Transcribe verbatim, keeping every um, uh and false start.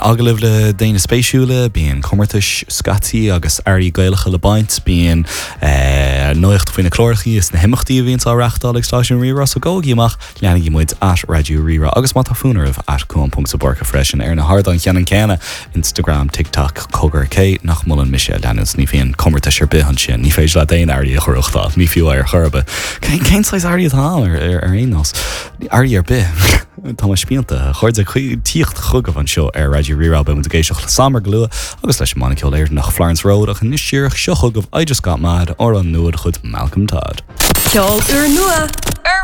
Agallamh le daoine spéisiúla, bíonn comórtais scaití agus earraí Gaelacha le baint, bíonn eh, nuacht faoi na cláracha is na himeachtaí a bhíonn á reáchtáil ag stáisiún Rí-Rá so gabhaigí amach leanaigí muid at Raidió Rí-Rá agus má tá fonn oraibh at Cuan ponc de Búrca freisin ar na hardáin cheannann céanna Instagram, TikTok, cogar cé nach molann mise a leanúint ní bhíonn comórtais ar bith ansin, ní féidir leat aon earraí a ghnóthachtáil, ní fiú ar chor ar bith. Cén saghas earraí atá ar ar aon nós earraí ar bith. Tá mar spíonta chuirde tíocht chugah anseo ar Raidió Rí-Rá beidh muid ag éisteacht le Samar go luath agus leis an mbanna ceoil Éireannach Florence Road ach anois díreach seo chugaibh I just got mad ar an nua chuid Malcolm Todd. Ceol úrnua ar